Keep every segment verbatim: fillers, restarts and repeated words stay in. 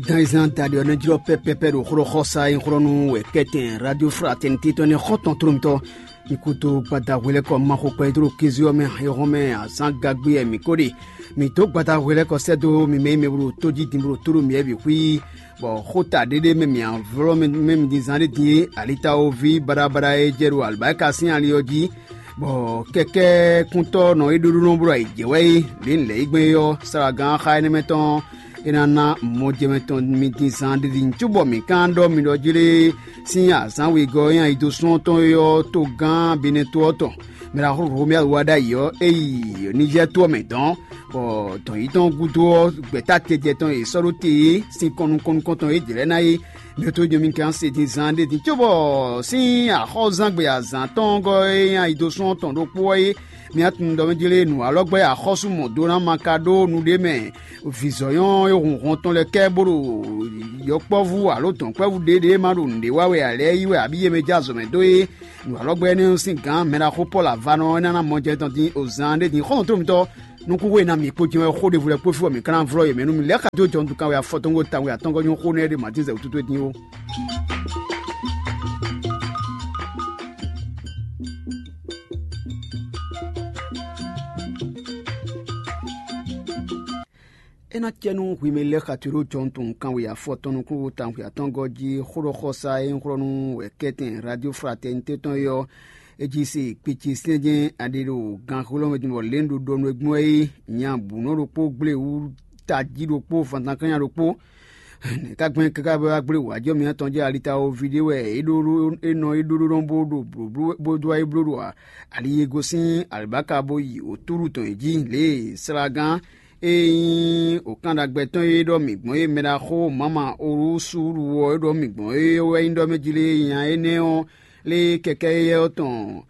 Gan e zán da ɖe ɔ́ nɛ́ jlɔ́ pɛ́pɛ́pɛ́ ɖo xlɔ́xɔ́sá e xlɔ́ nú wɛ kɛ́tɛn Radio Fraternité tɔn nɛ́ xɔ́ntɔn tlólomítɔ́. Mi kúdó gbada hwelɛ́kɔ Maxo kpɛdó kézú ɔ́ mɛ, éhɔ́n mɛ azǎn gagbé wɛ mǐ ko ɖe. Mǐ dó gbada hwelɛ́kɔ sɛ́ dó mi mɛ e mɛ blo tójí din blo tóɖó mǐ wɛ bǐ xwí, bɔ xó ta ɖéɖé mɛ mǐ avlɔ́ mɛ mɛ mǐ din zán ɖé din é, alitawoví baɖabaɖa e jɛ ɖo alibáka sín ali ɔ́ jí, bɔ kɛkɛ́kúntɔ́ nɔ é ɖóɖó nɔ bló ayǐjɛ wɛ é, lě un lɛ̌ yi gbɛn é ɔ́, slagán xá énɛ́ mɛ tɔn é ná ná mɔjɛmɛ tɔn mi din zán ɖiɖi cóbɔ mǐ ka ɖɔ mi ɖɔ jlé sín azǎn wegɔ́ e nyi ayidosúnɔ tɔn é ɔ́, togán Benɛto ɔ́ tɔn. Mɛ ɖaxó Romɛ́a wá ɖ'ayǐ ɔ́, é yi Nizɛ́ɛ to ɔ́ mɛ dɔ̌n, bɔ dɔ̌n yí tɔn gúdo ɔ́, gbɛ̌ta tɛjɛ tɔn e è sɔ́ ɖó te é, sin kɔn nukɔn nukɔn tɔn e jlɛ̌ ná é, Mɛ to jɔmi kan se din zan ɖé din cóbɔ sín axɔ́zangbe azǎn tɔn gɔ́ e nyi ayidosɔn tɔn ɖokpó ɔ́ é, mi tunwun ɖɔ mɛ jlé nǔ alɔgbɛ́ axɔ́sú mɔ dó ná ma ka ɖó nu ɖé mɛ. Vǐzɔ́nyɔ́ e hun hɔn tɔn lɛ́ɛ kɛ bó ɖo yɔkpɔ́vú alo dɔ̌nkpɛ́vú ɖěɖě ma ɖo nǔɖé wa wɛ ǎ lɛ́ɛ yí wɛ abǐ yě mɛ jɛ azɔ̌ mɛ dó é. Nǔ alɔgbɛ́ énɛ́ sín gǎn mɛ ɖaxó Pɔ́lu avánɔ ɔ́ ná ná mɔ jɛ tɔn din o zan ɖé din xɔ́ntɔn mitɔn. Nukúnxó e ná mi kpó jɛ́n wɛ xó ɖěvo lɛ́ɛ kpó fí bɔ mǐ ka ná vlɔ́ yě mɛ nú mi lɛ́ xajo jɔndu kan wɛ afɔ tɔn ko tawun atɔngɔ́ nyɔ́ xó nɛ́ ɖé Matín zɛ wútu towe dín ó. É ná cɛ nú hwi mɛ lɛ́ xato ɖó jɔndu kan wɛ afɔ tɔn nukúnxó tawun atɔngɔ́ jí xó ɖɔ xɔsa e nyí xlɔ́ nú wɛ kɛ́tɛn Radio Fraternité tɔn é ɔ́, é jí se kpicísɛ́njɛ́n aɖe ɖo ganxolɔ́mɛ din bɔ lě un ɖo ɖɔ nú é gbɔn é nya bǔnɔ ɖokpó gblé wú tají ɖokpó vantankannya ɖokpó. Nɛ̌ ka gbɛn káká bɔ wá gblé wǎjɔ mǐtɔn jɛ alitawoví ɖé wɛ é ɖó é nɔ é ɖó ɖó nɔ bó ɖo blǒbló bó dó wá yi bló ɖo ali e gosín alibáka bó yi wǒtúɖu tɔn e jí lě e slagán e nyí wǒkánɖagbe tɔn e ɖɔ mǐ gbɔn é mɛ ɖaxó Mama Olúsúlu ɔ́ é ɖɔ mǐ gbɔn é wɛ nyí ɖɔ mɛ jí lé nya énɛ́ ɔ́ lé kɛkɛ́ éyɛ́ ɔ́ tɔn.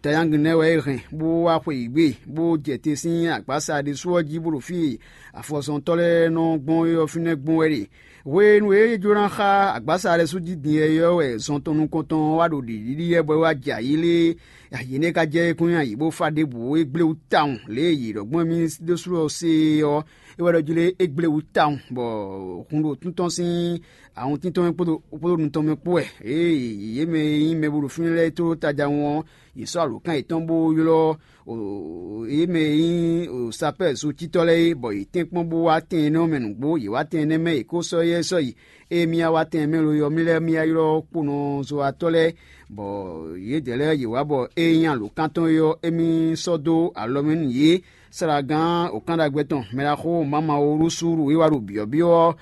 Tayángin nɛ́ wɛ é hɛn bó wá xweyǐgbe, bó jɛ te sín agbǎsa ɖésú ɔ́ jí bó ɖo fí e afɔzɔntɔ́ lɛ́ɛ nɔ gbɔn é ɔ́ fínɛ́ gbɔn wɛ ɖe. Hwenu e é jló ná xá agbǎsa lɛ́ɛ sú jí din yɛyɔ́ wɛ zɔn tɔn nukɔntɔn ɔ́ wá ɖo ɖiɖiɖi yɛ bɔ é wá jɛ ayǐ lé. Ayǐ nɛ́ ka jɛ é kún nyi ayǐ bó fá ɖěbǔ é gblé wú tawun lě e yě ɖɔ gbɔn émí ɖésú ɔ́ se é ɔ́, é wɛ ɖɔ jí lé é gblé wú tawun bɔ hun ɖo tún tɔn sín awɔntín tɔn mɛ kpódó kpódó nu tɔn mɛ kpó wɛ. Ée yě mɛ e nyí mɛ bo ɖo fínɛ́ lɛ́ɛ tló taja ɔ́, yě sɔ́ alǒkan yětɔn bó ylɔ́ yě mɛ e nyí sapɛ́ɛ zotítɔ́ lɛ́ɛ é, bɔ yě tɛ́nkpɔ́n bó wá tɛn énɛ́ ɔ́ mɛ nǔgbó. Yě wá tɛn énɛ́ mɛ yě kó sɔ́ éyɛ́ sɔ́ yi. Ée mì wá wá tɛn mɛ lo ɔ́, mì lɛ́ mì wá ylɔ́ kponɔzɔ́watɔ́ lɛ́ɛ, bɔ yědɛɛ lɛ́ɛ yě wá bɔ ée nyí alǒkan tɔn é ɔ́, émí sɔ́ dó alɔ mɛ nú yě. Slagán wǒkánɖagbe tɔn mɛ ɖaxó Mama Olúsúlu é wá ɖo byɔ̌byɔ́ ɔ́,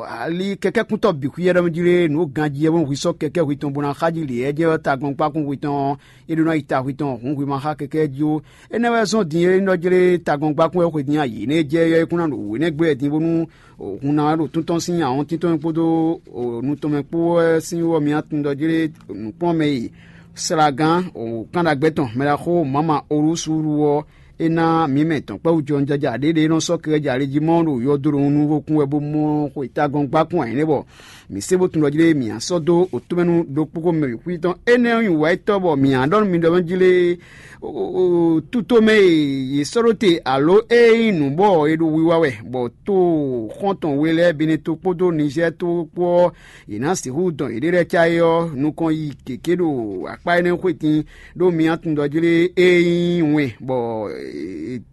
ali kɛkɛ́kúntɔ́ bǐ xwíyɛ́ ɖɔ mɛ jí lé nǔ ganjí ɔ́, bó hwi sɔ́ kɛkɛ́ hwi tɔn bó ná xá jí lě ɔ́ jɛ ɔ́ tagɔ́nkpákún hwi tɔn ɔ́, é ɖó ná yi ta hwi tɔn hǔn hwi ma xá kɛkɛ́ jí ó. Énɛ́ wɛ zɔ́n din é nɔ jlé tagɔ́nkpákún wɛ xwe din ayǐ nɛ́ jɛ é kún ná ɖo wěnɛ́ gblé wɛ din bónú hun ná wá ɖo tún tɔn sín ahɔ́ntín tɔn kpódó nu tɔn mɛ kpó wɛ sín wú ɔ́, mi ná tunwun ɖɔ jlé nǔkplɔ́nmɛ e slagán wǒkánɖagbe tɔn mɛ ɖaxó Mama Olúsúlu ɔ́, é ná mǐ mɛ tɔn kpɛ́ wú jɔnjɔja ɖě ɖě nɔ sɔ́ kɛkɛ́ jɛ ali jí mɔ ɖo yɔdo ɖo nukúnvɔkún wɛ bó mɔ xwe tagɔ́n gbá kún ayǐ nɛ́ bɔ mǐ se bó tunwun ɖɔ jí lé mǐ ná sɔ́ dó wǒtomɛnu ɖokpó ko mɛ bǐ xwí tɔn. Énɛ́ ɔ́ nyi wǎyítɔ́ bɔ mǐ ná ɖɔ nú mi ɖɔ mɛ jí lé tútomɛ e yě sɔ́ ɖó te alo ée nyí nǔ bɔ è ɖo wiwa wɛ, bɔ to xɔ́ntɔn we lɛ́ɛ Beneto kpódó Nizɛ́ɛ to kpó ɔ́, yě ná sixú dɔn yěɖée lɛ́ɛ cá é ɔ́ nukɔn yi gěgé ɖo akpá énɛ́ xwé din, ɖó mi ná tunwun ɖɔ jí lé ée nyí wɛn, bɔ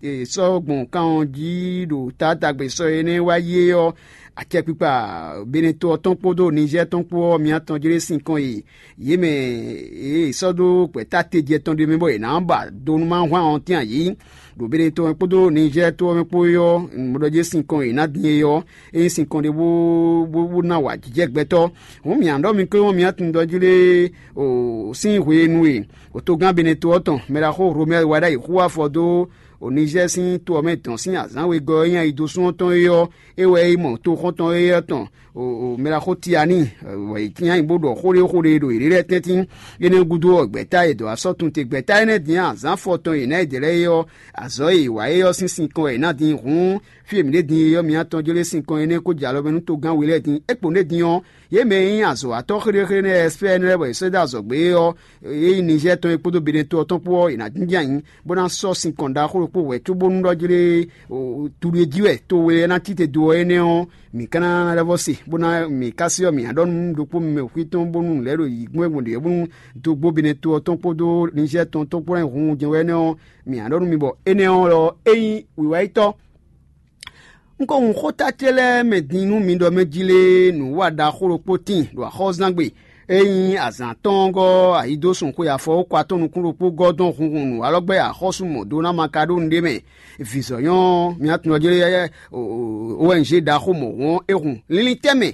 è sɔ́ gbɔn kan ɔ́ jí ɖo taátagbe sɔ énɛ́ wá yi é ɔ́, acɛkpikpa Beneto ɔ́ tɔn kpódó Nizɛ́ɛ tɔn kpó ɔ́, mi ná tɔn jí lé sinkɔn e yě mɛ e è sɔ́ dó gbɛ̌ta tejɛ tɔn ɖé mɛ bɔ è nǎ ba do nú má hwan ɔ́ tɛ́n ayǐ. Ɖo Beneto mɛ kpódó Nizɛ́ɛ to ɔ́ mɛ kpó é ɔ́, nǔɖɔjé sinkɔn e è nǎ din é ɔ́, é nyí sinkɔn ɖé bó bó ná wa jijɛ gbɛtɔ́. Hǔn mǐ ná ɖɔ mi kpé wɔn mǐ ná tunwun ɖɔ jí lé sín hwenu e wǒtogán Beneto ɔ́ tɔn mɛ ɖaxó Romɛ́ɛ wá ɖ'ayǐ xú afɔ dó Nizɛ́ɛ sín to ɔ́ mɛ dɔn sín azǎn wegɔ́ e nyi ayidosún ɔ́ tɔn é ɔ́, é wɛ é mɔ toxɔ́ntɔn éyɛ́ tɔn mɛ ɖaxó Tiani, bɔ yě cyán nyi bó ɖɔ xó ɖé xó ɖé ɖo yě ɖe lɛ́ɛ tɛ́ntin. Énɛ́ gúdo ɔ́, gbɛ̌ta e dɔ̌ asɔ́ tun te gbɛ̌ta énɛ́ din azǎn fɔ tɔn e nǎ e dě lɛ́ɛ é ɔ́, azɔ̌ e è wa é ɔ́ sín sinkɔn wɛ è nǎ din hǔn, fí e mǐ ɖe din é ɔ́, mi atɔn jlé sinkɔn énɛ́ kó jɛ alɔ mɛ nú togán we lɛ́ɛ din. É kpó ɖé din ɔ́, yě mɛ e nyí azɔ̌watɔ́ xéɖéxéɖé nɛ́ ɛspɛ́ɛnɛ́ lɛ́ɛ bɔ è sɔ́ dó azɔ̌gbé é ɔ́, é nyí Nizɛ́ɛ tɔn é kpódó Beneto ɔ́ tɔn kpó ɔ́, è nǎ jínjɔ́n ayǐ, bó ná sɔ́ sinkɔn ɖaxó kpo wɛ cóbónú ɖɔ jlé tuɖu e jí wɛ to we ɔ́ ná cí te do ɔ́ énɛ́ ɔ́, mǐ ka ná lɛ́ vɔ́ se, bó ná mǐ ká se ɔ́, mǐ ná ɖɔ nú ɖokpó mɛ xwí tɔn bónú nǔ lɛ́ɛ ɖo yǐ gbɔn gbɔn ɖě bónú dó gbó Benɛto ɔ́ tɔn kpódó Nizɛ́ɛ tɔn tɔn kpó ná hun jɛ́n wɛ énɛ́ ɔ́, mǐ ná ɖɔ nú mi bɔ é nyí wǐwáyítɔ́. Un ko hun xóta ce lɛ́ɛ mɛ din nú mi ɖɔ mɛ jí lé nǔwa ɖaxó ɖokpó tíin ɖo axɔ́zán gbe. É nyí azǎn tɔn ɔ́ gɔ́ ayǐ dó sun xwe afɔwókɔ atɔn nukún ɖokpó gɔ́ dɔn hunhun nǔ alɔgbɛ́ axɔ́sú mɔ̌ dó ná ma ka ɖó nǔɖé mɛ. Vǐzɔ́nyɔ́ mǐ tunwun ɔ́ jlé O N G ɖaxó mɔ̌ wɔn é hun linlin tɛ́ mɛ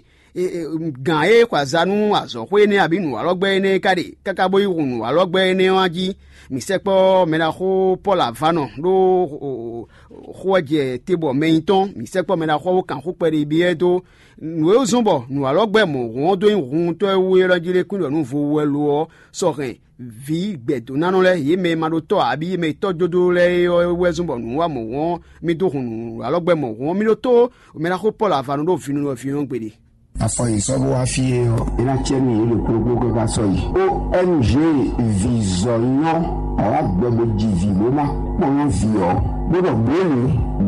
gǎn e xɔ aza nú azɔ̌xwé énɛ́ abǐ nǔ alɔgbɛ́ énɛ́ é ka ɖe káká bó yi hun nǔ alɔgbɛ́ énɛ́ ɔ́ jí. Mǐ sɛkpɔ́ mɛɖaxó Pɔ́lu Avanɔ ɖó xó ɔ́ jɛ te bɔ mɛ nyitɔn, mǐ sɛkpɔ́ mɛɖaxó ɔ́ bó kan xó kpɛɖé byɔ́ ɛ dó. Nǔ e zɔ́n bɔ nǔ alɔgbɛ́ mɔ̌ hɔn ɔ́ dó nyí huntɔ́ e wú élɔ́ jí lé kún ɖɔ nú vo wú wɛ lo ɔ́, sɔ hɛn vǐ gbɛ̌dónánɔ lɛ́ɛ, yě mɛ e ma ɖo tɔ́ ǎ, abǐ yě mɛ e tɔ́ jó dó lɛ́ɛ é ɔ́ wɛ zɔ́n bɔ nǔ wa mɔ̌ hɔn ɔ́, mi dó hun nǔ alɔgbɛ́ mɔ̌ hɔn ɔ́. Mi ɖótó mɛɖaxó Pɔ́lu Avanɔ ɖó vǐnɔ vǐnɔ gbe ɖe. Afɔ yi sɔ́ bó wá fí é ɔ́, é ná cɛ nú yě ɖo kplɔ́kplɔ́ káká sɔ́ yi. O N G vǐzɔ́nyɔ́, awǎ gbɛ bó ji vǐ bó ná kpɔ́n vǐ ɔ́, bó ɖɔ bǒ lě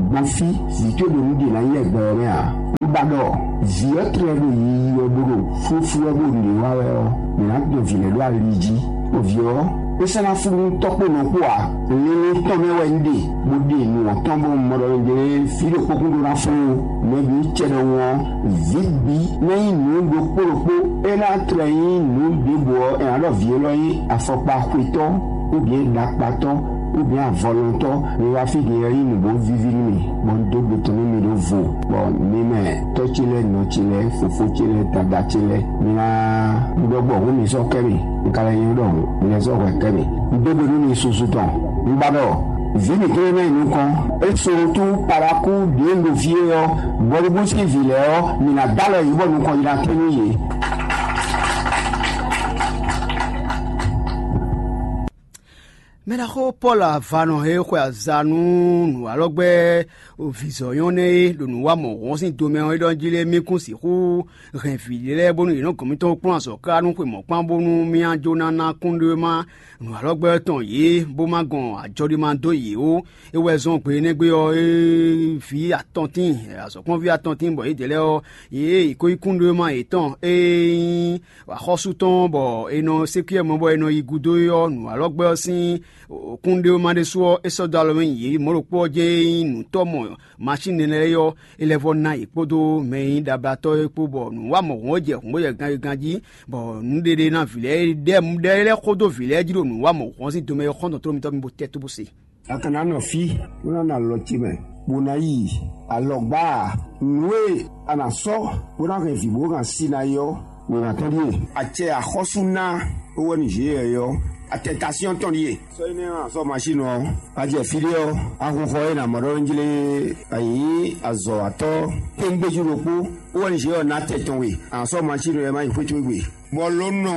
gbɔn fí vǐ tó ɖo nǔ ɖe ná nyí lɛ́ gbɛ ɔ́ mɛ ǎ. Un ba ɖɔ vǐ ɔ́ tlɛ ɖo yiyi wɛ bó ɖo flúflú wɛ bó ɖě wa wɛ ɔ́, mǐ ná dɔn vǐ lɛ́ɛ ɖó ali jí. Bɔ vǐ ɔ́, é sɔ́ ná flú nú tɔ́ kpó nɔ kpó ǎ. Linlin tɔn mɛ wɛ un ɖe, bó ɖe nǔ ɔ́ tɔn bó mɔ ɖɔ un ɖe fí ɖokpó kún ɖó ná flú. Mɛ bǐ cɛ ɖɔhun ɔ́, vǐ bǐ ná nyí nǔ ɖokpó ɖokpó. É ná tlɛ nyí nǔ ɖěbǔ ɔ́, è nǎ ɖɔ vǐ élɔ́ nyí afɔkpa xwetɔ́, ou bien ɖakpatɔ́, ou bien avɔlɔntɔ́. Mi wá fí din ɔ́ nyí nǔ bó víví nú mi, bɔ un dó gbe tɔn nú mi ɖó vo, bɔ mi mɛ tɔ́ ce lɛ́ɛ, nɔ ce lɛ́ɛ, fofó ce lɛ́ɛ, dada ce lɛ́ɛ, mi ná ɖɔ gbɔ hǔn mi sɔ́ kɛ mi, un ka lɛ́ nyɔ́ ɖɔ hǔn mi lɛ́ sɔ́ hwɛ kɛ mi. Un dó gbe nú mi susu tɔn, un ba ɖɔ vǐ mǐtɔn e ná yi nukɔn, é Solotu Palakú ɖě un ɖo fí é ɔ́, Bɔlúbú sín vǐ lɛ́ɛ ɔ́, mǐ ná dó alɔ yě bɔ nukɔn yi ná tɛ́ nú yě. Mɛɖaxó Pɔ́lu Avanɔ e xwe aza nú nǔ alɔgbɛ́ vǐzɔ́nyɔ́ nɛ́ é ɖo nǔ wa mɔ̌ hɔn sín domɛ ɔ́ é ɖɔ jí lé mí kún sixú hɛn vǐ ɖé lɛ́ɛ bónú yě nɔ gɔn mitɔn kplɔ́n azɔ̌ ká nú xwe mɔ̌kpán bónú mí ná jó ná ná kúnɖéwéma nǔ alɔgbɛ́ tɔn yě bó má gɔn ajɔɖima dó yě ó. É wɛ zɔ́n gbe énɛ́ gbe ɔ́, é vǐ atɔn tíin, azɔ̌kplɔ́nví atɔn tíin bɔ yědɛɛ lɛ́ɛ ɔ́, yě ko nyí kúnɖéwéma yětɔn e nyí axɔ́sú tɔn bɔ è nɔ sékúyɛ mɔ bɔ è nɔ yi gúdo é ɔ́, nǔ alɔgbɛ́ ɔ́ sín kúnɖéwéma ɖésú ɔ́, é sɔ́ dó alɔ mɛ nyi yě mɔ̌ ɖokpó ɔ́ jɛ́n é nyí nǔtɔ́ mɔ masín énɛ́ lɛ́ɛ ɔ́, é lɛ́ vɔ́ ná yě kpódó mɛ e nyí ɖablatɔ́ é kpó, bɔ nǔ wa mɔ̌ hɔn jɛ hǔn bó jɛ ganyigan jí, bɔ nǔɖéɖé ná vǐ lɛ́ɛ ɖɛ́ ɖɛ́ lɛ́ xó dó vǐ lɛ́ɛ jí ɖo nǔ wa mɔ̌ hɔn sín domɛ é xɔ́ntɔn tlóló mitɔ́ mi bó tɛ́ tó bó se. A ka ná nɔ fí bó ná nɔ alɔ ce mɛ, bó ná yi alɔgbá a? Nǔ e a nǎ sɔ́ bó ná hɛn vǐ bó hɛn asi ná é ɔ́, wěma tɔn ɖíe. Acɛ axɔ́sú ná ówɛ́ nú Jeyɛ́ɛ ɔ́, atɛtasíɔn tɔn ɖíe. Sɔ́ énɛ́ ɔ́, a sɔ́ masín ɔ́, a jɛ fí ɖé ɔ́, a hun xɔ e nǎ mɔ ɖɔ njí lé, a nyǐ azɔ̌watɔ́ kpéŋgbéjú ɖokpó, ówɛ́ nú Jeyɛ́ɛ ɔ́ ná tɛ tɔn we, a nǎ sɔ́ masín ɔ́, e má yi xwé towe gbe. Bɔ lǒ nɔ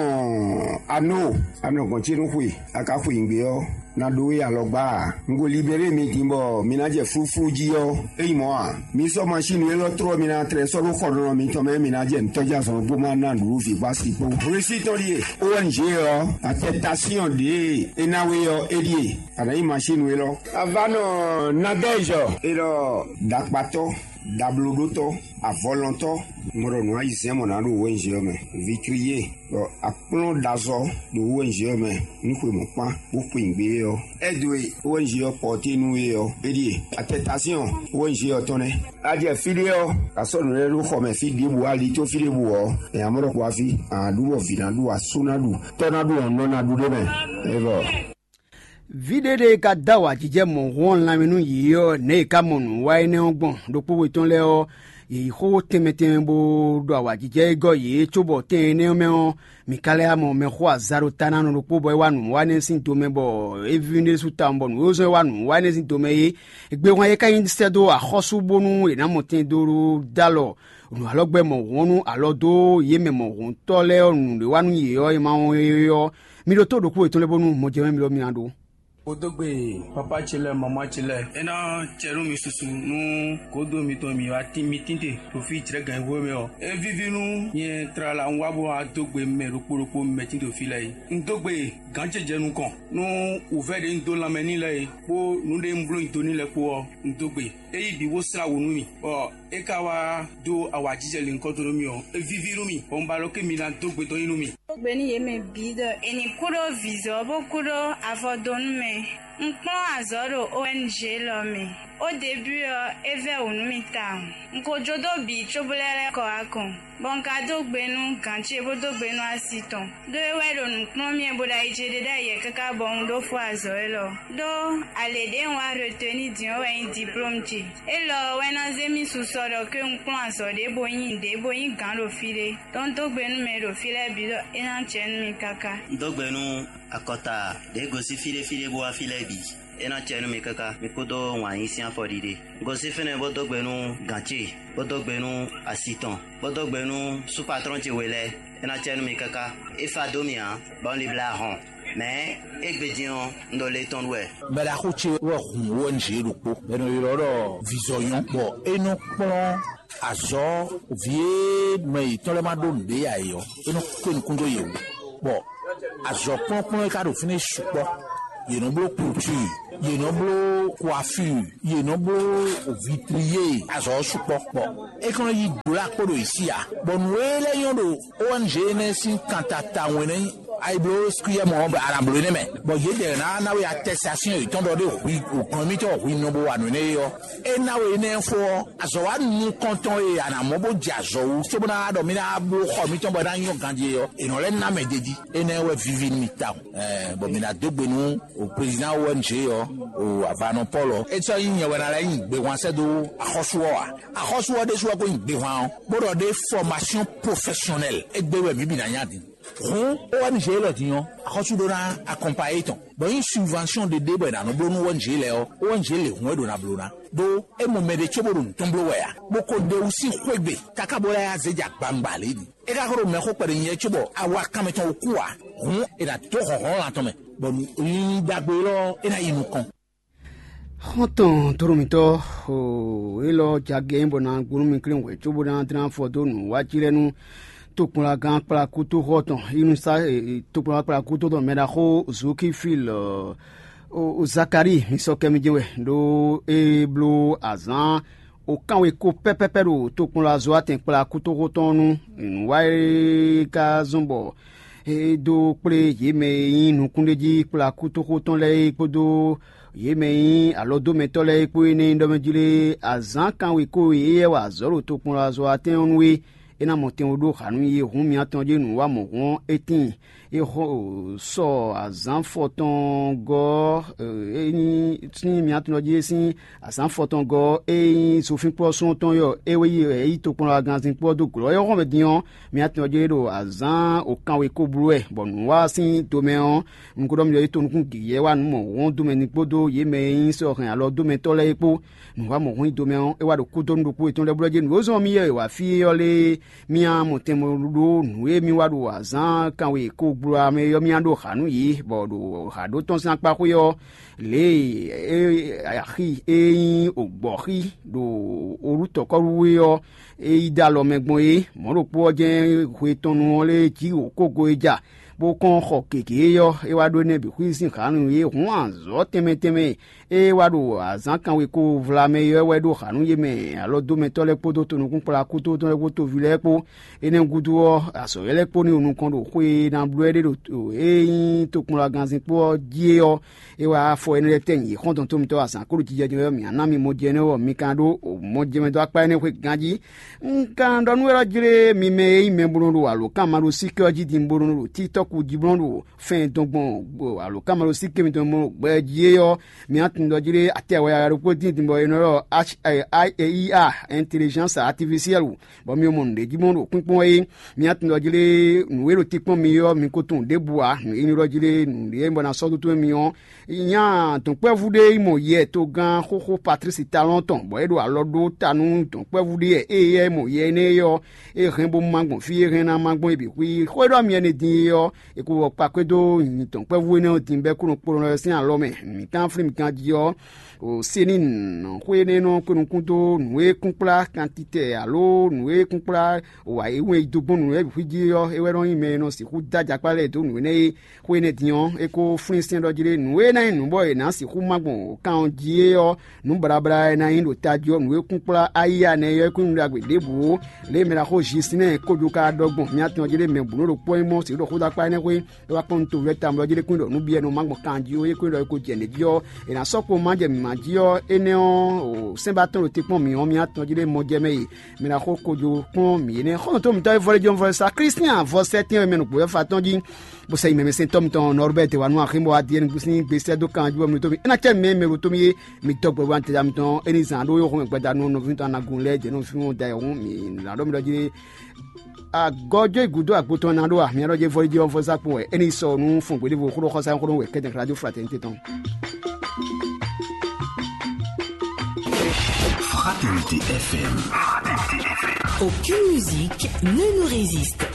anó, a nɔ gɔ̌n ce nú xwe, a ka xwe nyǐgbe ɔ́, na ɖó we alɔgbá ǎ. Un ko libéré mi din bɔ mi ná jɛ flúflú jí ɔ́, é nyí mɔ̌ ǎ. Mi sɔ́ masín élɔ́ tlɔ́ mi ná tlɛ sɔ́ ɖó xɔɖɔnɔ mitɔn mɛ, mi ná jɛ nǔtɔ́jazɔn kpó má ná nǔɖuɖu vǐ kpó asi kpó. Hwesí tɔn ɖíe, O N G ɔ́, atɛtasíɔn ɖě e é ná we ɔ́, é ɖíe, a nǎ nyí masín élɔ́. Avanɔ Nadɛ́zɔ, é ɖɔ ɖakpatɔ́, ɖablóɖótɔ́, avɔlɔntɔ́, mɔ ɖɔ nǔ ayizɛ́n mɔ nǎ ɖo O N G ɔ́ mɛ. Vikliyé, bɔ akplɔ́n ɖazɔ́ ɖo O N G ɔ́ mɛ, nú xwe mɔ̌kpán, bó xwe nǔgbé é ɔ́. Ɛ́ dó e O N G ɔ́ pɔ́té nú é ɔ́, é ɖíe. Atɛtasíɔn O N G ɔ́ tɔn nɛ́. A jɛ fí ɖé ɔ́, a sɔ́ nǔ lɛ́ɛ ɖó xɔ mɛ fí ɖěbǔ, ali tó fí ɖěbǔ ɔ́, è nǎ mɔ ɖɔ kpo afi, a nǎ ɖu bɔ vǐ ná ɖu, asú ná ɖu, tɔ́ ná ɖu, ɔ̌ nɔ ná ɖu ɖé mɛ. É vɔ. Vǐ ɖé ɖé ka dó awǎjijɛ mɔ̌hun ɔ́ lanmɛ nú yě ɔ́, nɛ̌ è ka mɔ nǔ wa énɛ́ ɔ́ gbɔn? Ɖokpó we tɔn lɛ́ɛ ɔ́, yě yi xó tɛnmɛ tɛnmɛ bó ɖo awǎjijɛ e gɔ́ yě cóbɔ tɛn énɛ́ ɔ́ mɛ ɔ́, mǐ ka lɛ́ wá mɔ mɛxó azaɖotanánɔ ɖokpó bɔ é wá nǔ wa énɛ́ sín domɛ, bɔ é víví ɖésú tawun bɔ nǔ e zɔ́n é wá nǔ wa énɛ́ sín domɛ é. Égbé hwan é ka nyí sɛ́ dó axɔ́sú bónú è nǎ mɔ tɛn dó dó alɔ nǔ alɔgbɛ́ mɔ̌hun ɔ́ nú alɔ dó yě mɛ mɔ̌huntɔ́ lɛ́ɛ ɔ́ nǔɖé wa nú yě ɔ́, è ma wɔn é ɔ́, mi ɖótó ɖokpó yětɔn lɛ́ɛ bónú mɔjɛmɛ mitɔn mi ná ɖó. Xo dó gbe papa ce lɛ́ɛ, mama ce lɛ́ɛ. É ná cɛ nú mi susu nú gǒdo mitɔn mi wá tín mi tín te ɖo fí jlɛ̌gǎn hwé mɛ ɔ́. É víví nú nyɛ tlala un wá bó wá dó gbe mɛ ɖokpó ɖokpó mɛ tín ɖo fí lɛ́ɛ é. Un dó gbe gǎn ce jɛ nukɔn nú wǔvɛ́ ɖě un dó lanmɛ n'i lɛ́ɛ é, kpó nǔ ɖé un bló nyi do n'i lɛ́ɛ kpó ɔ́, un dó gbe. É yí bǐ bó slá wǔ nú mì, bɔ é ka wá dó awǎjijɛ lǐnkɔ́n dó nú mì ɔ́, é víví nú mì, bɔ un ba ɖɔ ké mi ná dó gbe dɔn nyi nú mì. Dó gbe nú yě mɛ bǐ ɖɔ è nǐ kú ɖó vǐzɔ́ bó kú ɖó avɔdonu mɛ. Un kplɔ́n azɔ̌ ɖo O N G lɔ mɛ. Ó debú ɔ́, é vɛ́ wǔ nú mì tawun. Un ko jó dó bǐ cóbó lɛ́ lɛ́ kɔ wá kɔn, bɔ un ka dó gbe nú gǎn ce bó dó gbe nú asi tɔn. Ɖó é wɛ ɖo nǔ kplɔ́n mì wɛ bó ɖo ayi ce ɖe ɖ'ayǐ wɛ káká bɔ un ɖó fó azɔ̌ élɔ́. Ɖó alě ɖě un wá retenu din ɔ́ wɛ nyí diplómu ce. Élɔ́ ɔ́ wɛ ná zé mì susɔ ɖɔ ké un kplɔ́n azɔ̌ ɖé bó nyí nǔɖé bó nyí gǎn ɖo fí ɖé. Ɖó un dó gbe nú mɛ e ɖo fí lɛ́ɛ bǐ ɖɔ é ná jɛ nú mi káká. Un dó gbe nú akɔta ɖě gosín fí ɖé fí ɖé bó wá fí lɛ́ɛ bǐ. É ná cɛ nú mi káká, mi kúdó wǎn yí sín afɔɖiɖe. Un gosín fínɛ́ bó dó gbe nú gǎn ce, bó dó gbe nú asi tɔn, bó dó gbe nú súpatrɔ́n ce we lɛ́ɛ. É ná cɛ nú mi káká. É fa dó mì ǎ, bɔ un libla hɔn. Mɛ̌ égbé din ɔ́, un ɖo le tɔn ɖu wɛ. Mɛɖaxó ce wɛ hun O N G ɖokpó bɔ è nɔ ylɔ́ ɖɔ Vizɔnyɔ́, bɔ é nɔ kplɔ́n azɔ̌ vǐ e mɛ yětɔn lɛ́ɛ ma ɖó nǔɖé ǎ é ɔ́, é nɔ kpé nukún dó yě wú. Bɔ azɔ̌ kplɔ́nkplɔ́n e ka ɖo fínɛ́ sukpɔ́. Yě nɔ bló kultúr, yě nɔ bló coiffure, yě nɔ bló vitrier, azɔ̌ ɔ́ sukpɔ́. Bɔ é ka nɔ yí dǒ ɖo akpó ɖo yě sí ǎ. Bɔ nǔ e lɛ́ nyɔ́ ɖo O N G énɛ́ sín kan ta tawun é nɛ́ nyí. Ayi bló skúyɛ́ mɔ ɔ́, a nǎ bló énɛ́ mɛ, bɔ yědɛɛ ná ná we atɛsasiɔn yětɔn ɖɔ ɖé hwi gɔ̌n émítɔn hwi nɔ bo wa nǔ énɛ́ é ɔ́, é ná we énɛ́ fó ɔ́, azɔ̌ wa nukɔntɔn e a nǎ mɔ bó jɛ azɔ̌ wú cóbó ná ɖɔ mí ná bló xɔ mítɔn bɔ é ná nyɔ́ ganjí é ɔ́, è nɔ lɛ́ ná mɛ d'é jí. Énɛ́ wɛ víví nú mi tawun. Ɛɛ, bɔ mi ná dó gbe nú o président O N G ɔ́, o avanɔ Paul ɔ́. É sɔ́ nyí nyɛ wɛ ná lɛ́ nyi gbehwan sɛ́ dó axɔ́sú ɔ́ ǎ. Axɔ́sú ɔ́ ɖésú ɔ́ ko nyí gbehwan ɔ́, bó ɖɔ ɖé formation professionnelle égbé wɛ mǐ bǐ ná nya din. Hǔn O N G lɔ din ɔ́, axɔ́sú ɖó ná akɔnpayé tɔn, bɔ nyí subvention ɖé ɖé bɔ è nǎ nɔ bló nú O N G lɛ́ɛ ɔ́, O N G lě hǔn é ɖó ná bló ná. Ɖó é mɔ mɛɖé cóbó ɖo nǔ tɔn bló wɛ ǎ, bó ko ɖe wú sín xwé gbe káká bó lɛ́ yá zé jɛ agbawungba lě din. É ka ko ɖo mɛxó kpɛɖé nyɛ cóbɔ awa kanmɛ tɔn wú kú ǎ, hǔn è nǎ dó hlɔ̌nhlɔ́n lan tɔn mɛ, bɔ ɖagbe élɔ́ é ná yi nukɔn. Xɔ́ntɔn tlóló mǐtɔn, élɔ́ jagɛ nyí bɔ ná gbónú mi klín hwɛ̌ cóbó ná dlán afɔ dó nǔ wá cí lɛ́ɛ nú tokpɔnlagán kplakútóxɔ tɔn, inúsá tokpɔnlagán kplakútó tɔn mɛɖaxó Zokifil Zakalíi. Mi sɔ́ kɛ mì jɛ́n wɛ, ɖó é bló azǎn wǒ kánwe kó pɛ́pɛ́pɛ́ ɖo tokpɔnlazɔ́watɛn kplakútóxó tɔn ɔ́ nu. Nǔ wa e ka zɔ́n bɔ é dó kplé yě mɛ e nyí nukúnɖéjí kplakútóxó tɔn lɛ́ɛ é kpódó yě mɛ e nyí alɔdómɛtɔ́ lɛ́ɛ é kpó énɛ́ nyí ɖɔ mɛ jlé azǎn kanwe kó e éyɛ́ wa azɔ̌ ɖo tokpɔnlazɔ́watɛn ɔ́ nu é. É ná mɔ tɛn wó ɖó hǎ nú yě hǔn mǐtɔn jí nǔ wa mɔ̌hun ɔ́, é tíin. É xo sɔ azǎn fɔtɔn gɔ́ ɔ́, é nyí sín mǐtɔn jí é sín azǎn fɔtɔn gɔ́ ɔ́, é nyí zofínkplɔ́sún tɔn yɔ é wɛ yi é yí tokpɔnlagánzínkpo ɔ́ dó glɔ́ é xɔ́mɛ din ɔ́, mǐtɔn jí é ɖo azǎn wǒkanwe kó bló wɛ, bɔ nǔ wa sín domɛ ɔ́, un ko ɖɔ mi ɖɔ é to nukún gěgé wá nǔ mɔ̌hun domɛ ní kpódó yě mɛ e nyí sɔ́ hɛn alɔ dómɛtɔ́ lɛ́ɛ é kpó. Nǔ wa mɔ̌hun nyi domɛ ɔ́, é wá ɖo kúdonu ɖokpó yětɔn lɛ́ɛ blɔ́ jí nǔ e zɔ́n mì yɛ è wǎ fí é ɔ́ lé. Mía mɔ tɛnmɛ ɖó nǔ e mì wa ɖo azǎn kanwe ko gblo ɔ́ mɛ ɔ́, mía ɖó hǎ nú yě, bɔ ɖo hǎ ɖó tɔn sín akpa xwé ɔ́, lě e axi e nyí ògbɔ̌xi ɖo olú tɔ̌kɔ́ɖuwe ɔ́, é yi dó alɔ mɛ gbɔn é. Mɔ̌ ɖokpó ɔ́ jɛ́n hwe tɔn nu ɔ́ lé jí wǒ kógo e ja, bó kɔn xɔ gěgé é ɔ́, é wá ɖó énɛ́ bǐ xwí sín hǎ nú yě. Hǔn azɔ̌ tɛnmɛ tɛnmɛ e é wá ɖo azǎn kanwe ko vla mɛ é wɛ ɖó hǎ nú yě mɛ alɔdómɛtɔ́ lɛ́ɛ kpódó tonukúnkplakútɔ́ lɛ́ɛ kpó toví lɛ́ɛ kpó. Énɛ́ gúdo ɔ́, azɔ̌ lɛ́ɛ kpó ní nukɔn ɖo xwe e ná bló ɛ ɖe ɖo e nyí tokpɔnlagánzínkpo ɔ́ jí é ɔ́, é wá afɔ énɛ́ lɛ́ɛ tɛ́ nyi xɔ́ntɔn tómítɔ́ azǎn kó ɖo jijɛ jɛ mɛ ɔ́, mǐ ná mì mɔjɛnú ɔ́, mi ka ɖó mɔjɛmɛdó akpá énɛ́ xwé ganjí. Un ka ɖɔ nú we ɔ́ jlé mi mɛ e nyí mɛ bo nɔ ɖo alǒkanmaɖósíké ɔ́ jí din bo nɔ ɖo títɔ́ku jí bo nɔ ɖo fɛn dɔn gbɔn alǒkanmaɖósíké mitɔn bo nɔ gbɛ jí é ɔ́, mi ná tunwun ɖɔ jlé atɛ wɛ ɖokpó dín din bɔ è nɔ ɖɔ I A, intelligence artificielle, bɔ mi mɔ nǔɖé jí mɔ ɖo kpínkpɔ́n é. Mi ná tunwun ɖɔ jlé nǔ e ɖo te kpɔ́n mi ɔ́, mi ko tunwun ɖěbǔ ǎ. Nǔ e nyí ɖɔ jlé nǔɖé bɔ ná sɔ́ dó towe mi ɔ́, nya dɔ̌nkpɛvú ɖé yi mɔ yɛ togán xóxó Patlísi Talɔ́n tɔn, bɔ é ɖo alɔ ɖó ta nú dɔ̌nkpɛvú ɖé wɛ. Ée yɛ mɔ yɛ énɛ́ é ɔ́, é hɛn bó má gbɔn fí e hɛn ná má gbɔn é bǐ xwí. Xó e ɖɔ mi ɛnɛ din é ɔ́, È ko wɔ kpakwédó nyǐtɔn kpɛ́vú énɛ́ ɔ́ din bɛ́ kúnɔ kplɔ́nɔ ɔ́ sín alɔ mɛ. Mǐ tán flín mi ganjí ɔ́, o Senin xwé énɛ́ nɔ kpé nukún dó nǔ e kún kplá kantitɛ alo nǔ e kún kplá wǎ e wɛn yi dó gbɔn nǔ e bǐ xwí jí ɔ́, é wɛ nɔ nyí mɛ e nɔ sixú dó ajakpá lɛ́ɛ dó nǔ énɛ́ e xwé énɛ́ din ɔ́, é ko flín sɛ́n ɖɔ jí ɖé nǔ e ná nyí nǔ bɔ è nǎ sixú má gbɔn kan ɔ́ jí é ɔ́, nǔ blablá e ná nyí ɖo tají ɔ́, nǔ e kún kplá ayíya nɛ́ ɔ́, é kún nyí nǔ ɖagbe ɖěbǔ ó. Lě e mɛ ɖaxó Zisinɛ́ɛ kó jó ka ɖɔ gbɔn mía tɔn jí lé mɛ bǔ nɔ ɖo kpɔ́ nyí mɔ sǐ ɖo xóɖó akpá énɛ́ xwé, é wá kpɔ́n nú toví lɛ́ɛ tawun ɖɔ jí lé kún ɖɔ nǔ byɔ́ nɔ má gbɔn kan jí ó, é kún ɖɔ é ko jɛ nɛ̌ jí ɔ́, è nǎ sɔ́ kpo má jɛ mǐmá jí ɔ́, énɛ́ ɔ́, sɛ́nbátɔ́ ɖo te kpɔ́n mǐ ɔ́, mía tɔn jí lé mɔ jɛ mɛ e mɛ ɖaxó ko jó kplɔ́n mǐ énɛ́. Xɔ́ntɔn mǐtɔn e vɔ́ lɛ́ jɔ́n vɔ́ sa Klístian vɔ sɛ́tɛ́n wɛ mɛ nukún wɛ fa tɔn jí. Bó sɛ yi mɛ mɛ sɛn tɔ́ mitɔn Nɔrbɛ́t wa nú axínbɔ Adiyɛ́ɛn sín gbesɛ dó kan jí bɔ mǐ ɖo tó mì. É ná cɛ mɛ mɛ ɖo tó mì é, mi dɔgbɔ wa tɛja mitɔn é ní zan ɖó yó xɔmɛ gbada nú nɔví tɔn anagun lɛ́ɛ jɛ nú fí wọn da yɛ hún mi ná ɖɔ mi ɖɔ jí. Agɔjɔ gǔdo agbo tɔn ná ɖó a? Mia ɖɔ jɛ vɔli jí ɔn vɔsa kpɔn wɛ é ní sɔ nú fɔn gběɖévo xóɖó xɔsa xóɖó wɛ kɛtɛn radio fraternité tɔn. Fraternité F M. Aucune musique ne nous résiste.